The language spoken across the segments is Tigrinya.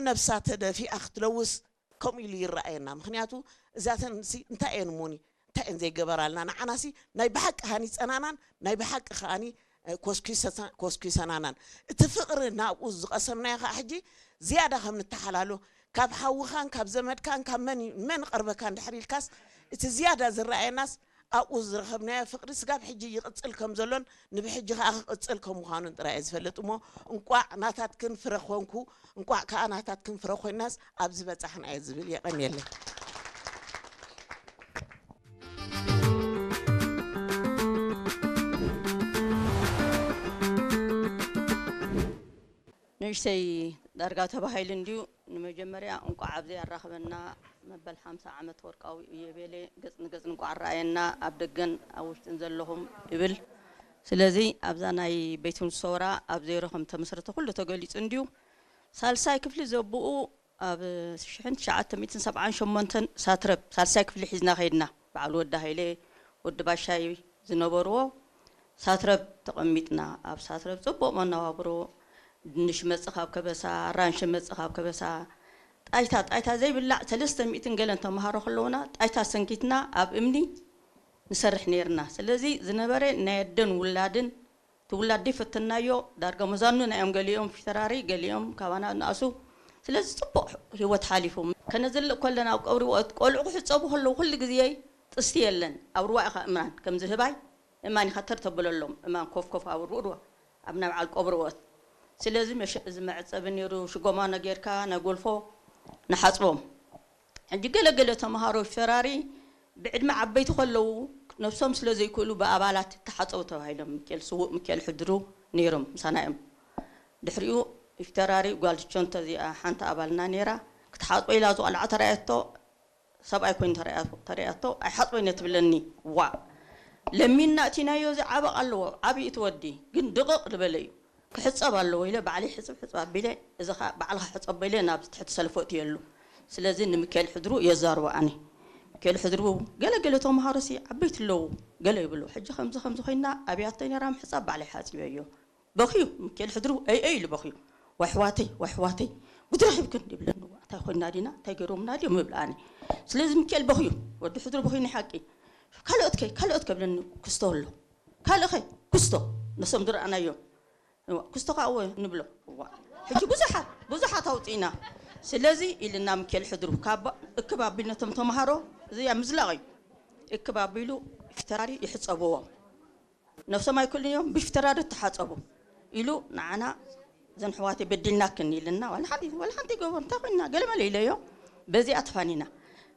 ነብሳ ተደፊኣ ክትለውስ ከምኡ ኢሉ ይረኣየና። ምኽንያቱ እዛተን ሲ እንታይ እየን እሞኒ እንታይ እየን ዘይገበራልና? ንዓናሲ ናይ ብሓቂ ሃኒፀናናን ናይ ብሓቂ ከኣኒ ኮስኪሰናናን እቲ ፍቕሪ ናብኡ ዝቐሰምናዮ ከዓ ሕጂ ዝያዳ ከም ንተሓላሎ ካብ ሓውኻን ካብ ዘመድካን ካብ መን መን ቀርበካ እንድሕር ኢልካስ እቲ ዝያዳ ዝረኣየናስ ኣብኡ ዝረኸብናዮ ፍቕሪ ስጋብ ሕጂ ይቕፅል ከም ዘሎን ንብሕጂ ከዓ ክቕፅል ከም ምዃኑን ጥራይ እየ ዝፈልጥ እሞ እንቋዕ ናታትክን ፍረ ኮንኩ እንቋዕ ከዓ ናታትክን ፍረ ኮይናስ ኣብዚ በፃሕና እየ ዝብል የቐንየለይ። ንእሽተይ ዳርጋ ተባሂሉ እንድዩ። ንመጀመርያ እንቋዕ ኣብዚ ኣራኸበና መበል ሓምሳ ዓመት ወርቃዊ እዮቤሌ ገጽ ንገጽ እንቋዕ ኣረኣየና ኣብ ደገን ኣብ ውሽጥን ዘለኹም እብል። ስለዚ ኣብዛ ናይ ቤት ሰውራ ኣብ ዜሮ ከም ተመስረተ ኩሉ ተገሊጹ እንድዩ። ሳልሳይ ክፍሊ ዘብኡ ኣብ ሽሕን ትሽዓተ ሚእትን ሰብዓን ሸሞንተን ሳትረብ ሳልሳይ ክፍሊ ሒዝና ከይድና በዓል ወዲ ሃይለ ወዲ ባሻይ ዝነበርዎ ሳትረብ ተቐሚጥና ኣብ ሳትረብ ጽቡቕ መነባብሮ ድንሽ መጽእ ካብ ከበሳ ኣራንሺ መጽእ ካብ ከበሳ ጣይታ ጣይታ ዘይብላዕ ሰለስተ ሚእትን ገለን ተምሃሮ ከለውና ጣይታ ሰንኪትና ኣብ እምኒ ንሰርሕ ነይርና ስለዚ ዝነበረ ናይ ኣደን ውላድን እቲ ውላድ ደይፈተናዮ ዳርጋ መዛኑና እዮም ገሊኦም ፊተራሪ ገሊኦም ካባና ንኣሱ ስለዚ ፅቡቅ ህይወት ሓሊፉ ከነዝልእ ከለና ኣብ ቀብሪ ወት ቆልዑ ክሕፀቡ ከለዉ ኩሉ ግዜ ጥስቲ የለን ኣብ ርዋ ኢኻ እምራን ከምዚ ህባይ እማን ኢኻ ተር ተብለሎም እማን ኮፍ ኮፍ ኣብ ርዋ ኣብ ናይ በዓል ቀብሪ ወት ስለዚ እዚ መዕፀቢ ነይሩ ሽጎማኖ ጌርካ ናይ ጎልፎ ንሓፅቦም ሕጂ ገለ ገለ ተምሃሮ ፊተራሪ ብዕድመ ዓበይቲ ከለዉ ነብሶም ስለ ዘይክእሉ ብኣባላት ተሓፀቡ ተባሂሎም ምክኤል ስዉእ ምክኤል ሕድሩ ነይሮም ምሳና እዮም ድሕሪኡ ፊተራሪ ጓል ቸንቶ እዚኣ ሓንቲ ኣባልና ነይራ ክትሓፅቦ ኢላ ዝቆልዓ ተራእየቶ ሰብኣይ ኮይኑ ተራእያቶ ኣይሓፅቦ ኢነ ትብለኒ ዋእ ለሚንና እቲናዮ እዚ ዓበቕ ኣለዎ ዓብዪ እቲ ወዲ ግን ድቕቕ ዝበለ እዩ ክሕፀብ ኣለዎ ኢለ ባዕለይ ሕፅብ ሕፅብ ኣቢለ እዚ ከዓ ባዕልኻ ሕፀቦ ኢለ ናብ ትሕቲ ሰልፎ እትየሉ ስለዚ ንምካኤል ሕድሩ የዛርቦ ኣነ ምካኤል ሕድሩ ገለ ገለ ተምሃሮ ሲ ዓበይቲ ኣለዉ ገለ ይብሉ ሕጂ ከምዚ ከምዚ ኮይና ኣብያቶ ነራ ምሕፃብ ባዕለይ ሓፂበዮ በኽዩ ምካኤል ሕድሩ ኣይ ኣይ ኢሉ በኽዩ ዋሕዋተይ ዋሕዋተይ ጉድ ረኺብክን ይብለኒ እንታይ ኮይና ዲና እንታይ ገይሮምና ድዮም ይብል ኣነ ስለዚ ምካኤል በኽዩ ወዲ ሕድሩ በኽዩ ናይ ሓቂ ካልኦት ከ ካልኦት ከብለኒ ክስቶ ኣሎ ካልእ ኸ ኩስቶ ነሶም ዝረኣናዮም ኩስቶ ከዓ እወ ንብሎ እዋ ሕጂ ብዙሓት ብዙሓት ኣውፅእና ስለዚ ኢልና ምኬል ሕድሩ ካብ እክብ ኣቢልነቶም ተምሃሮ እዚያ ምዝላቕ እዩ እክብ ኣቢሉ ፊተራሪ ይሕፀብዎም ነብሶም ኣይክእሉን እዮም ብፊተራሪ ተሓፀቡ ኢሉ ንዓና ዘን ሕዋተይ በዲልናክን ኢልና ዋላ ሓንቲ ዋላ ሓንቲ ይገብሮ እንታይ ኮይና ገለመለ ኢለዮ በዚኣ ተፋኒና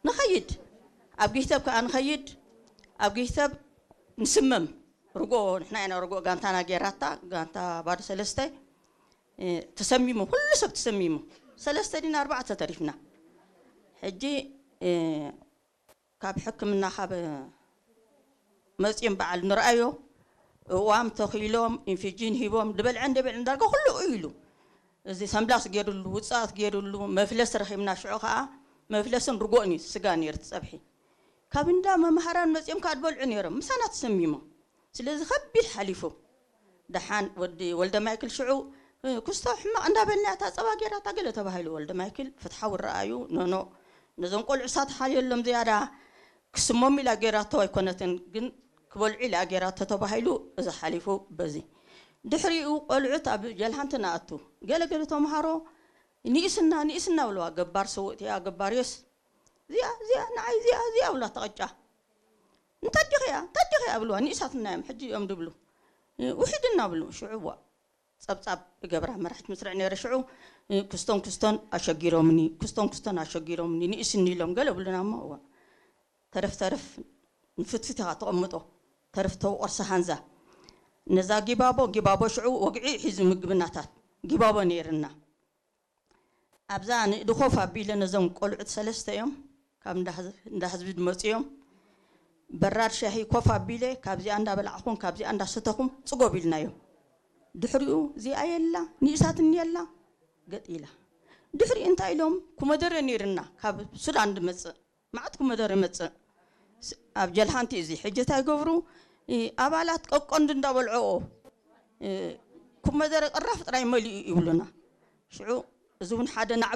ንኸይድ ኣብ ጊህተብ ከዓ ንኸይድ ኣብ ጊህተብ ንስመም ርጎ ንሕና ኢና ርጎ ጋንታና ጌራታ ጋንታ ባዶ ሰለስተ ተሰሚሙ ኩሉ ሰብ ተሰሚሙ ሰለስተ ዲና ኣርባዕተ ተሪፍና ሕጂ ካብ ሕክምና ካብ መፂኦም በዓል ንርኣዮ እዋም ተኺሎም ኢንፊጂን ሂቦም ድበልዐ እንደበልዐ ዳርጋ ኩሉ ኢሉ እዚ ሰንብላስ ገይሩሉ ውፅኣት ገይሩሉ መፍለስ ረኺብና ሽዑ ከዓ መፍለስን ርጎእን እዩ ስጋ ነይሩ ትፀብሒ ካብ እንዳ መምሃራን መፂኦም ከዓ ድበልዑ ነይሮም ምሳና ተሰሚሞም ስለዚ ከቢድ ሓሊፉ ደሓን ወዲ ወልደ ማይክል ሽዑ ክስቶ ሕማቕ እንዳበልና እታ ፀባ ገይራ እታ ገለ ተባሂሉ ወልደ ማይክል ፍትሓዊ ረኣዩ ኖኖ ነዞም ቆልዑ ሳተሓልየሎም ዝያዳ ክስሞም ኢላ ገይራቶ ኣይኮነትን ግን ክበልዑ ኢላ ገይራቶ ተባሂሉ እዚ ሓሊፉ በዚ ድሕሪኡ ቆልዑት ኣብ ጀልሃንቲ ንኣቱ ገለ ገለ ተምሃሮ ንኢስና ንኢስና ብለዋ ገባር ሰውእትያ ገባር የስ እዚኣ እዚኣ ንዓይ እዚኣ እዚኣ ብላ ተቐጫ እንታዲኽያ እንታዲኽያ ብልዋ ንኢሳትና እዮም ሕጂ እዮም ድብሉ ውሒድና ብሉ ሽዑ ዋ ጸብጻብ እገብራ መራሒት ምስርዕ ነይረ ሽዑ ክስቶን ክስቶን ኣሸጊሮምኒ ክስቶን ክስቶን ኣሸጊሮምኒ ንኢስኒ ኢሎም ገለ ብሉና እሞ እዋ ተረፍ ተረፍ ንፍትፍት ኢኻ ተቐምጦ ተረፍ ተውቆርሳ ሃንዛ ነዛ ጊባቦ ጊባቦ ሽዑ ወግዒ ሒዙ ምግብናታት ጊባቦ ነይርና ኣብዛ ንእዲ ኮፍ ኣቢለ ነዞም ቆልዑት ሰለስተ እዮም ካብ እንዳ ህዝቢ ድመፁ እዮም በራድ ሻሂ ኮፍ ኣቢለ ካብዚኣ እንዳበላዕኹም ካብዚኣ እንዳሰተኹም ፅጎብ ኢልናዮም ድሕሪኡ እዚኣ የላ ንእሳትኒ የላ ገጥ ኢላ ድሕሪኡ እንታይ ኢሎም ኩመደረ ነይርና ካብ ሱዳን ድመፅእ መዓት ኩመደረ መፅእ ኣብ ጀልሃንቲ እዚ ሕጂ እንታይ ገብሩ ኣባላት ቀቆንዲ እንዳበልዐኦ ኩመደረ ቅራፍ ጥራይ መሊኡ ይብሉና ሽዑ እዚ እውን ሓደ ናዕ